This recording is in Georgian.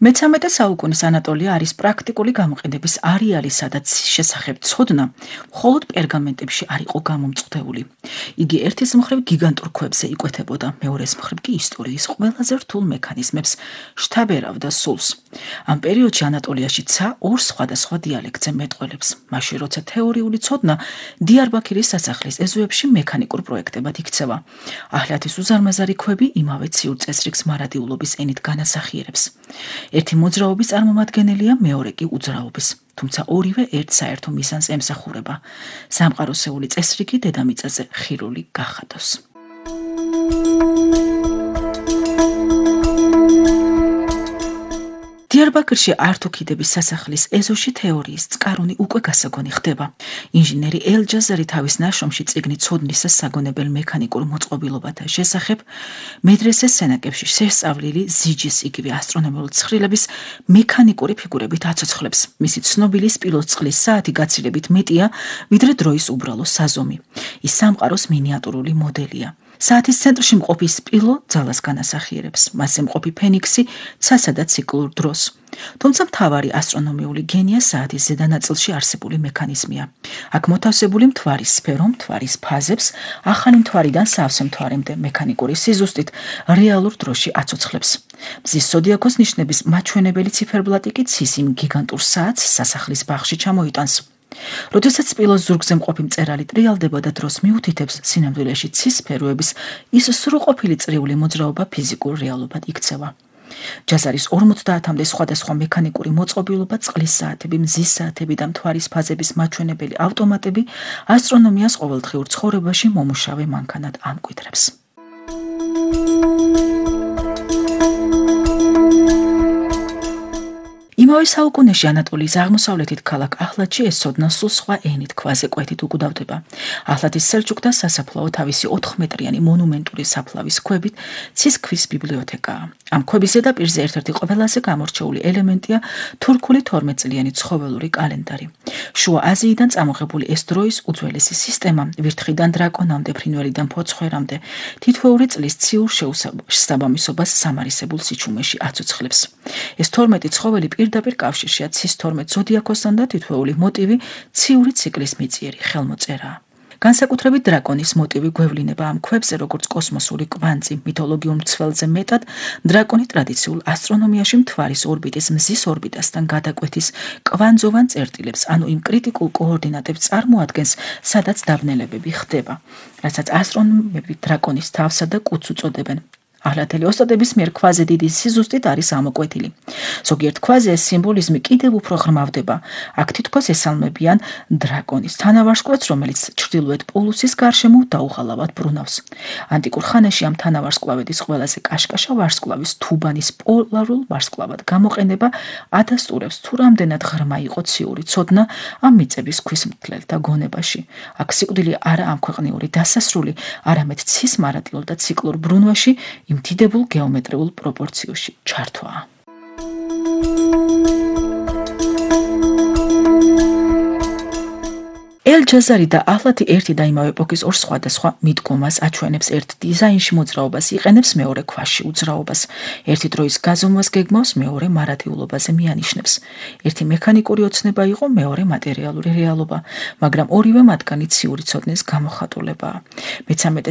მე-13 საუკუნის ანატოლია არის პრაქტიკული გამოყენების არეალი, სადაც შესახებ ცოდნა მხოლოდ პერგამენტებში არ იყო გამომწყვდეული. იგი ერთის მხრივ გიგანტურ ქვებზე იკვეთებოდა, მეორეს მხრივ კი ისტორიის ყველაზე რთულ მექანიზმებს შთაბერავდა სულს. ამ პერიოდში ანატოლიაში ცა ორ სხვადასხვა დიალექტზე მეტყველებს. მაშინ როცა თეორიული ცოდნა დიარბაქირის სასახლის ეზოებში მექანიკურ პროექტებად იქცევა. აჰლათის უზარმაზარი ქვები იმავე ციურ წესრიგს მარადიულობის ენით განასახიერებს. ერთი მოძრაობის წარმომადგენელია, მეორე კი უძრაობის, თუმცა ორივე ერთ საერთო მიზანს ემსახურება. სამყაროსეული წესრიგი დედამიწაზე ხირული გახადოს. დიარბაქრში ართუქიდების სასახლის ეზოში თეორიის წყარონი უკვე გასაგონი ხდება. ინჟინერი ელ-ჯაზარი თავის ნაშრომში წიგნი ცოდნის საგონებელ მექანიკურ მოწყობილობათა შესახებ მედრესეს სენაკებში შესწავლილი ზიჯის იგივე ასტრონომიული ცხრილების მექანიკური ფიგურებით აცოცხლებს. მისი ცნობილი სპილოწყლის საათი გაცილებით მეტია, ვიდრე დროის უბრალო საზომი. ის სამყაროს მინიატურული მოდელია. საათის ცენტრში მყოფი სპილო ძალას განასახიერებს, მასზე მყოფი ფენიქსი ცასა და ციკლურ დროს. თუმცა მთავარი ასტრონომიული გენია საათის ზედა ნაწილში არსებული მექანიზმია. აქ მოთავსებული მთვარის სფერო მთვარის ფაზებს ახალი მთვარიდან სავსე მთვარემდე მექანიკური სიზუსტით რეალურ დროში აცოცხლებს. მზის ზოდიაქოს ნიშნების მაჩვენებელი ციფერბლატი კი ცის იმ გიგანტურ საათს სასახლის ბაღში ჩამოიტანს. როდესაც სპილოს ზურგზე მყოფი მწერალი ტრიალდება და დროს მიუთითებს, სინამდვილეში ცის სფეროების ის სრულყოფილი წრიული მოძრაობა ფიზიკურ რეალობად იქცევა. ჯაზარის 50-მდე სხვადასხვა მექანიკური მოწყობილობა, წყლის საათები, მზის საათები და მთვარის ფაზების მაჩვენებელი ავტომატები ასტრონომიას ყოველდღიურ ცხოვრებაში მომუშავე მანქანად ამკვიდრებს. იმავე საუკუნეში ანატოლიის აღმოსავლეთით ქალაქ აჰლათში ეს ცოდნა სულ სხვა ენით ქვაზე კვეთით უკვდავდება. აჰლათის სელჩუკთა სასაფლაო თავისი 4 მეტრიანი მონუმენტური საფლავის ქვებით ცის ქვის ბიბლიოთეკაა. ამ ქვების ზედაპირზე ერთ-ერთი ყველაზე გამორჩეული ელემენტია თურქული 12 წლიანი ცხოველური კალენდარი. შუა აზიიდან წამოღებული ეს დროის უძველესი სისტემა, ვირთხიდან დრაკონამდე, ფრინველიდან ფოცხვერამდე, თითოეული წლის ციურ შესაბამისობას სამარისებულ სიჩუმეში აცოცხლებს. ეს 12 ცხოველი პირდაპირ კავშირშია ცის 12 ზოდიაქოსთან და თითოეული მოტივი ციური ციკლის მიწიერი ხელმოწერაა. განსაკუთრებით დრაკონის მოტივი გვევლინება ამ ქვებზე როგორც კოსმოსური კვანძი, მითოლოგიურ მცველზე მეტად დრაკონი ტრადიციულ ასტრონომიაში მთვარის ორბიტის მზის ორბიტასთან გადაკვეთის კვანძოვან წერტილებს, ანუ იმ კრიტიკულ კოორდინატებს წარმოადგენს, სადაც დაბნელებები ხდება, რასაც ასტრონომები დრაკონის თავსა და კუდს უწოდებენ. აჰლათელი ოსტატების მიერ ქვაზე დიდი სიზუსტით არის ამოკვეთილი. ზოგიერთ ქვაზე ეს სიმბოლიზმი კიდევ უფრო ღრმავდება. აქ თითქოს ესალმებიან დრაკონის თანავარსკვლავედს, რომელიც ჩრდილოეთ პოლუსის გარშემო დაუღალავად ბრუნავს. ანტიკურ ხანაში ამ თანავარსკვლავედის ყველაზე კაშკაშა ვარსკვლავის თუბანის პოლარულ ვარსკვლავად გამოყენება ადასტურებს, თუ რამდენად ღრმა იყო ციური ცოდნა ამ მიწების ქვის მკვლელთა გონებაში. აქ სიკვდილი არა ამქვეყნიური დასასრული, არამედ ცის მარადიულ და ციკლურ ბრუნვაში იმ დიდებულ გეომეტრიულ პროპორციებში ჩართვაა. ელ-ჯაზარი და აჰლათი ერთი და იმავე ეპოქის ორ სხვადასხვა მიდგომას აჩვენებს. ერთ დიზაინში მოძრაობას იყენებს, მეორე ქვაში უძრაობას. ერთი დროის გაზომვას გეგმავს, მეორე მარადიულობაზე მიანიშნებს. ერთი მექანიკური ოცნება იყო, მეორე მატერიალური რეალობა, მაგრამ ორივე მათგანი ციური ცოდნის გამოხატულებაა. მე-13